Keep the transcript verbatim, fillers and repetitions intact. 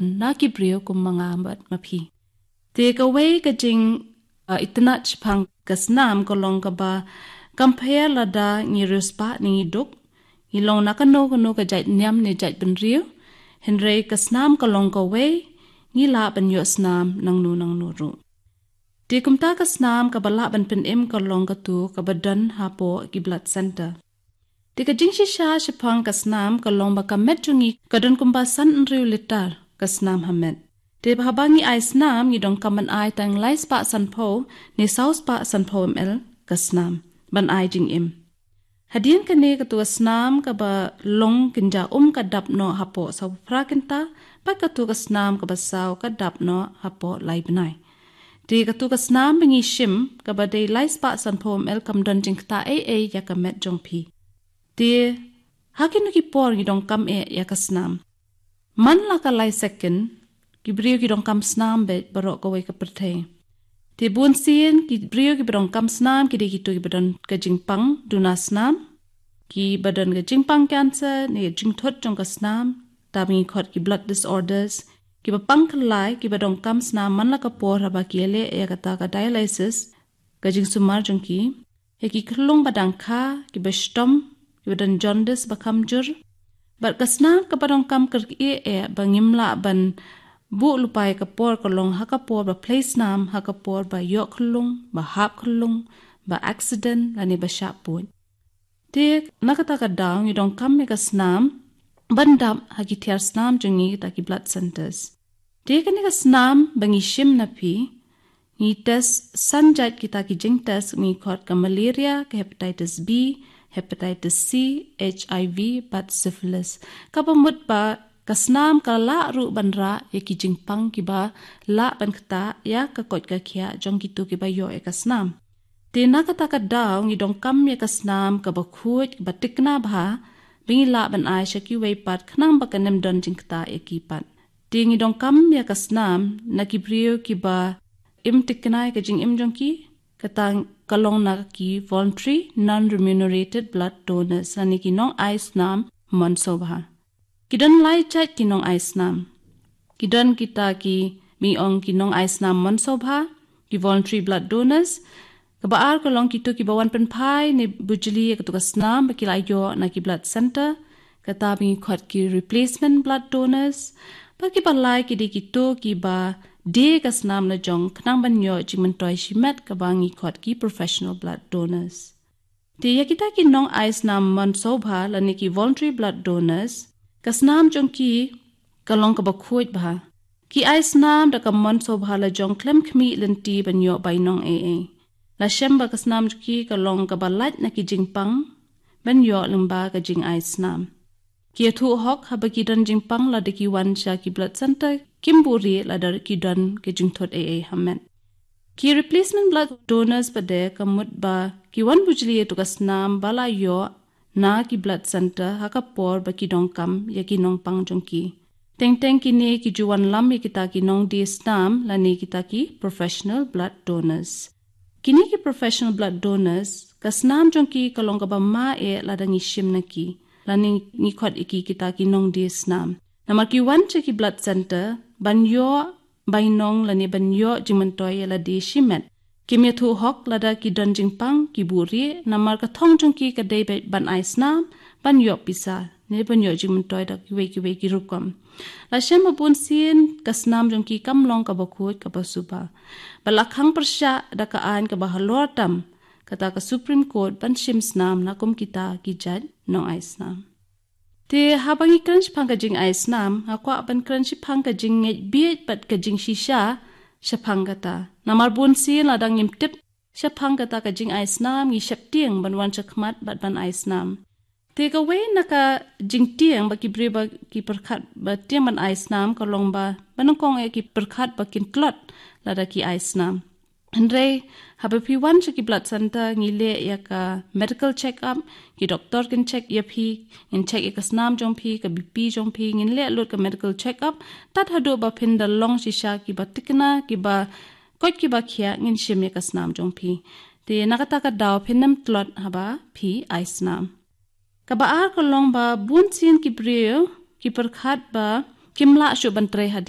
na ki briew kum ma nga bad ma phi. Te kawei ka jing, uh, itynnad shaphang ka snam ka long kaba compare lada ngi riewspah ne ngi duk, ngi long na kano kano ka jait niam ne jait bynriew, hynrei ka snam ka long kawei, ngi lah ban ïoh snam nangno nangno ruh. Te kumta ka snam kaba lah ban pynim ka long katu kaba don hapoh ki blood center. Te ka jingshisha shaphang ka snam ka long ba ka met jong ngi ka don kumba san hynriew litar ka snam ha met. Te haba ngi ai snam ngi donkam ban ai tang lai spah sanphew ne saw spah sanphew M L ka snam ban ai jingim. Hadien kane katu ka snam kaba long kynja um ka dap noh hapoh saw phra kynta, bad katu ka snam kaba saw ka dap noh hapoh lai bnai. Te katu ka snam ba ngi shim kaba dei lai spah sanphew M L kam don jingktah ei ei ïa ka met jong phi. Te ha kino ki por ngi donkam eh ïa ka snam. Man la ka lai second, ki briew ki donkam snam beit baroh kawei ka pyrthei. Te bun sien ki briew kiba donkam snam ki dei kito kiba don ka jingpang duna snam, kiba don ka jingpang cancer ne jingthut jong ka snam, ta ba ngi khot ki blood disorders, kiba pang khyllai, kiba donkam snam man la ka por haba ki ïaleh ïa kata ka dialysis, ka jingsumar jong ki, ïa ki khyllung ba dang kha, kiba shitom, kiba don jaundice ba kham jur. Bad ka snam kaba donkam kyrkieh eh ba ngim lah ban buh lypa ïa ka por ka long ha ka por ba plie snam, ha ka por ba ïoh khyllung, ba hap khyllung, ba accident lane ba shah pud. Te na kata ka daw ngi donkam ïa ka snam ban dap ha ki tiar snam jong ngi, kita ki blood centers. Te kane ka snam ba ngi shim na phi, ngi test san jait kita ki jingtest, ngi khot ka malaria, ka hepatitis B, hepatitis C, H I V bad syphilis. Kaba mut ba ka snam ka lah ruh ban rah ïa ki jingpang kiba lah ban ktah ïa ka koit ka khiah jong kito kiba ïoh ïa ka snam. Te na kata ka daw ngi donkam ïa ka snam kaba khuid, kaba tikna bha, ba ngi lah ban ai sha kiwei pat khnang ba kan ym don jingktah ïa ki pat. Te ngi donkam ïa ka snam na ki briew kiba im tikna ïa ka jingim jong ki, kata ka long na ki voluntary non-remunerated blood donors lane ki nong ai snam mon sngewbha. Ki don lai jait ki nong ai snam. Ki don kita kiba ngi ong ki nong ai snam mon sngewbha, ki voluntary blood donors. Kaba ar ka long kito kiba wan pynphai ne bujli ïa katu ka snam ba ki la ïoh na ki blood center, kata ba ngi khot ki replacement blood donors. Bad kiba lai ki dei kito kiba die ka snam la jong khnang ban ïoh jingmyntoi shimet, kaba ngi khot ki professional blood donors. Te ïa kita ki nong ai snam mon sngewbha lane ki voluntary blood donors, ka snam jong ki ka long kaba khuid bha. Ki ai snam da ka mon sngewbha la jong khlem khmih lynti ban ïoh bainong ei ei. La shem ba ka snam jong ki ka long kaba lait na ki jingpang ban ïoh lyngba ka jingai snam. Ki ïathuh hok haba ki don jingpang lada ki wan sha ki blood center, kim buhrieh lada ki don ka jingthut ei ei ha met. Ki replacement blood donors pat de ka mut ba ki wan bujli ïa katu ka snam ba la ïoh na ki blood center ha ka por ba ki donkam ïa ki nongpang jong ki. Teng teng kine ki ju wanlam ïa kita ki nongdie snam lane kita ki professional blood donors. Kine ki professional blood donors, ka snam jong ki ka long kaba ma eh lada ngi shim na ki, lane ngi khot ïa ki kita ki nongdie snam. Namar ki wan sha ki blood center ban ïoh bainong lane ban ïoh jingmyntoi ïa lade shimet. Kim ïathuh hok lada ki don jingpang, ki buhrieh, namar ka thong jong ki ka dei beit ban ai snam, ban ïoh pisa ne ban ïoh jingmyntoi da kiwei kiwei ki rukom. La shem ba bun sien ka snam jong ki kam long kaba khuid kaba suba. Bad la khang pyrshah da ka aiñ kaba halor tam, kata ka Supreme Court, ban shim snam na kum kita ki jait nong ai snam. Te haba ngi kren shaphang ka jingai snam, nga kwah ban kren shaphang ka jingngeit bieit bad ka jingshisha shaphang kata. Namar bun sien lada ngim tip shaphang kata ka jingai snam, ngi sheptieng ban wan shakhmat bad ban ai snam. Te kawei na ka jingtieng ba ki briew ba ki pyrkhat ba tieng ban ai snam ka long ba, ba nyngkong eh ki pyrkhat ba kin tlot lada ki ai snam. Hynrei haba phi wan sha ki blood center ngi leh ïa ka medical check up, ki doktor kin check ïa phi, ngin check ïa ka snam jong phi, ka B P jong phi, ngin leh lut ka medical check up, tad haduh ba phin da long shisha kiba tikna, kiba koit kiba khiah, ngin shim ïa ka snam jong phi. Te na kata ka daw phin ym tlot haba phi ai snam. Kaba ar ka long ba bun sien ki briew ki pyrkhat ba kim lah shuh ban trei hadien